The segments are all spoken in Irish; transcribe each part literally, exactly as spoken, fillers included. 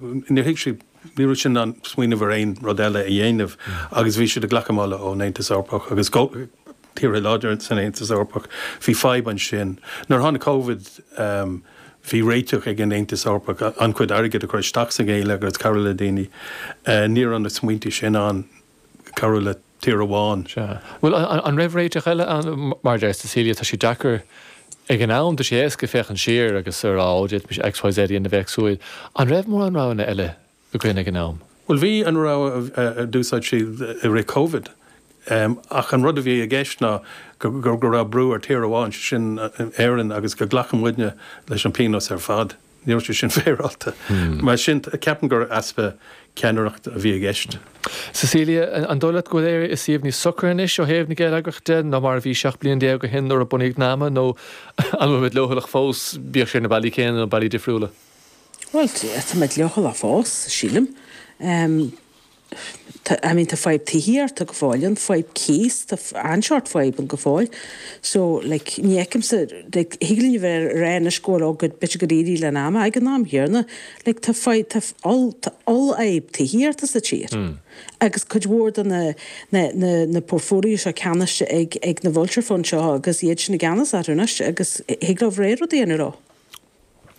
Níor thuig siad, ní raibh siad in ann smaoineamh ar aon rud eile a dhéanamh agus bhí siad ag glacadh mála ón Aontas Eorpach agus tíortha láidir san Aontas Eorpach. Bhí fadhb ansin. Nuair a tháinig Covid, bhí réiteach ag an Aontas Eorpach an-chuid airgid a chur isteach sa gheilleagar agus cabhrú le daoine. Ní raibh na smaointe sin ann cabhrú le tír amháin. Sea. Bhuel, an raibh réiteach eile ann? Mar a deir Cecilia, tá sé deacair ag an am, tá sé éasca féachaint siar agus a rá, ó, d'fhéadfaimis X, Y, Z a dhéanamh éagsúil. An raibh mórán roghanna eile againn ag an am? Bhuel, bhí an rogha a d'úsáid siad i rith Covid. Ach an rud a bhí i gceist ná go raibh brú ar tír amháin, sé sin Éirinn, agus go nglacfadh muidne leis an pionós ar fad. Ní raibh sé sin féaráilte. Mar sin, ceapaim gur easpa ceannaireachta a bhí i gceist. Cecilia, an dóigh leat go bhfuil Éire i suíomh níos socra anois ó thaobh na geilleagrach de ná mar a bhí seacht bliain déag ó shin nuair a bunaíodh NAMA nó an bhfuil muid leochaileach fós, bíodh sé ar na bealaí céanna nó bealaí difriúla? Bhuel, tá muid leochaileach fós, sílim. Tá, I mean, tá fadhb tithíochta go fóill ann, fadhb cíos, tá an-seort fadhb ann go fóill. So, like, ní fheicimse, like, thig linn a bheith ag rá anois go bhfuil, ó, go, b'fhéidir gur éirigh le NAMA ag an am chéanna, like, tá fadhb, tá oll, tá ollfhadhb tithíochta sa tír. Agus cuid mhór de na, na, na, na portfóilió seo ceannaithe ag, ag na vulture funds seo agus iad sin i gceannas orthu anois agus thig leo ré rud a dhéanamh leo.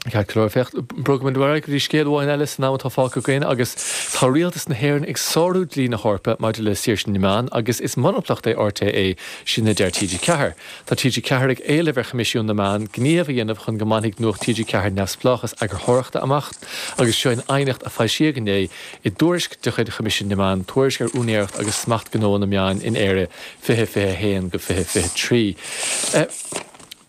Ceart go leor, féach, bogfaimid ar aghaidh go dtí scéal amháin eile san am atá fágtha againn agus tá rialtas na hÉireann ag sárú dlí na hEorpa maidir le saoirse na meán agus is monaplacht é RTÉ, sin a deir TG Ceathair. Tá TG Ceathair ag éileamh ar Choimisiún na Meán gníomh a dhéanamh chun go mbainfidh Nuacht TG Ceathair neamhspleáchas eagarthóireachta amach agus seo in aighneacht a foilsíodh inné i dtuairisc de chuid Choimisiún na Meán, Tuairisc ar Úinéireacht agus Smacht Gnó na Meán in Éire fiche fiche a haon go fiche fiche trí.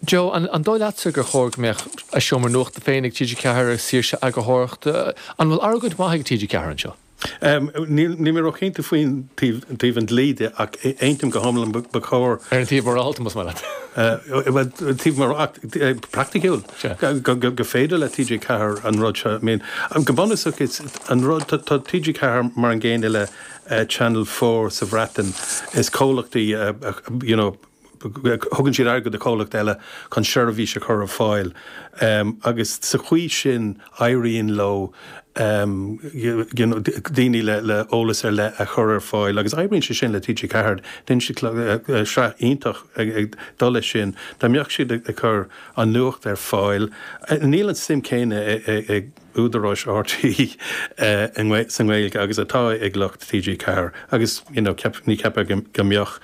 Joe, an dóigh leatsa gur chóir go mbeadh a seomra nuachta féin ag TG Ceathair, saoirse eagarthóireachta? An bhfuil argóint mhaith ag TG Ceathair anseo? Níl mé róchinnte faoin taobh an dlí de ach aontaím go hiomlán ba chóir. Ar an taobh morálta, más maith leat. Bhuel, taobh morálta, praiticiúil, go féidir le TG Ceathair an rud seo, I mean, go bunúsach is an rud, tá TG Ceathair mar an gcéanna le Channel Four sa Bhreatain, is comhlachtaí, you know, thugann siad airgead do chomhlacht eile chun seirbhís a chur ar fáil agus sa chaoi sin éiríonn leo daoine le eolas ar leith a chur ar fáil agus oibríonn sé sin le TG Ceathair. Déanann siad sraith iontach ag dul leis sin. Dá mbeadh siad ag cur an nuacht ar fáil, níl an suim céanna ag údaráis RTÉ sa nGaeilge agus atá ag lucht TG Ceathair agus you know ní cheapfainn go mbeadh.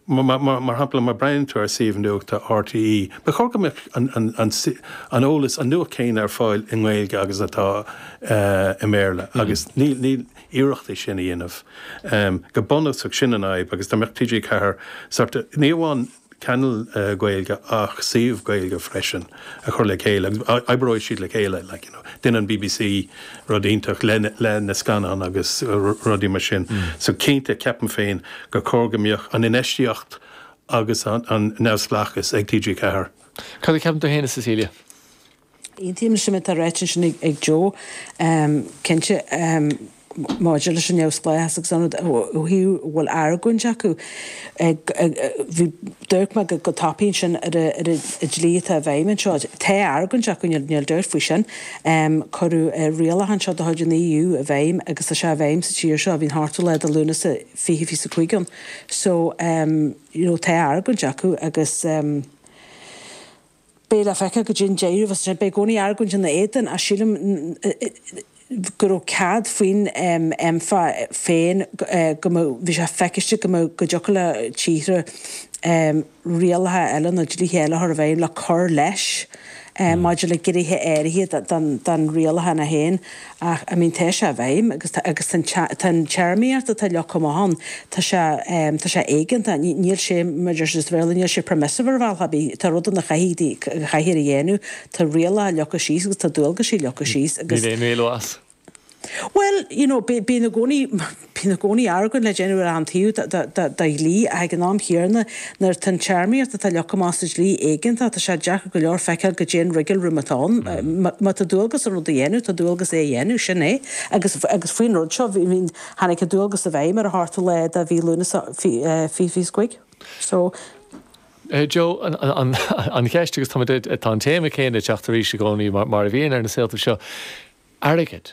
Mar shampla, má breathnaíonn tú ar suíomh nuachta RTÉ, ba chóir go mbeadh an eolas, an nuacht céanna ar fáil i nGaeilge agus atá i mBéarla agus níl níl iarracht é sin a dhéanamh. Go bunúsach sin an fhadhb agus dá mbeadh TG Ceathair sort ní amháin channel Gaeilge ach suíomh Gaeilge freisin a chur le chéile agus oibreoidh siad le chéile like you know déanann an BBC rud iontach le le na scannáin agus rudaí mar sin. So cinnte ceapaim féin gur chóir go mbeadh an infheistíocht agus an an neamhspleáchas ag TG Ceathair. Cad a cheapann tú féin a Cecilia? Aontaím leis an méid atá ráite ansin ag Joe. Cinnte, maidir leis an neamhspleáchas agus an rud ó thaobh an bhfuil argóint acu, bhí, d'amharc mé go tapaidh ansin ar an dlí atá i bhfeidhm anseo. Tá argóint acu, níl dabht faoi sin. Cuireadh rialachán seo de chuid an EU i bhfeidhm agus tá sé i bhfeidhm sa tír seo, bhí an t-ochtú lá de Lúnasa fiche fiche a cúig ann. So, you know, tá argóint acu agus. Beidh le feiceáil goidé an deireadh a bheas leis. Beidh i gcónaí argóint ina éadan ach sílim go raibh cead faoin MFA féin go mbeadh, bhí sé feiciste go mbeadh, go dtiocfadh le tíortha rialacha eile nó dlíthe eile a chur i bhfeidhm le cur leis maidir le gnéithe áirithe den rialachán é féin. Ach, I mean, tá sé i bhfeidhm agus tá, agus tá an, tá an téarmaíocht atá leagtha amach ann, tá sé, tá sé éigeantach, ní, níl sé, mar a deir siad sa Bhéarla, níl sé permissive ar bhealach ar bith, tá rud ann a chaithfidh, a chaithfear a dhéanamh, tá rialacha leagtha síos agus tá dualgaisí leagtha síos agus. Níl aon éalú as. Bhuel, you know, bíonn i gcónaí, bíonn i gcónaí argóint le déanamh ar achan taobh de dhlí ach ag an am chéanna nuair atá an téarmaíocht atá leagtha amach sa dlí éigeantach, tá sé deacair go leor feiceáil goidé an wriggle room atá ann. Má tá dualgas an rud a dhéanamh, tá dualgas é a dhéanamh, sin é. Agus, agus faoin rud seo, bhí, bhí, tháinig an dualgas i bhfeidhm ar an ochtú lá de mhí Lúnasa fiche fiche cúig. So. Joe, an cheist, agus tá an téama céanna ag teacht arís i gcónaí mar a bhíonn ar na saolta seo, airgid.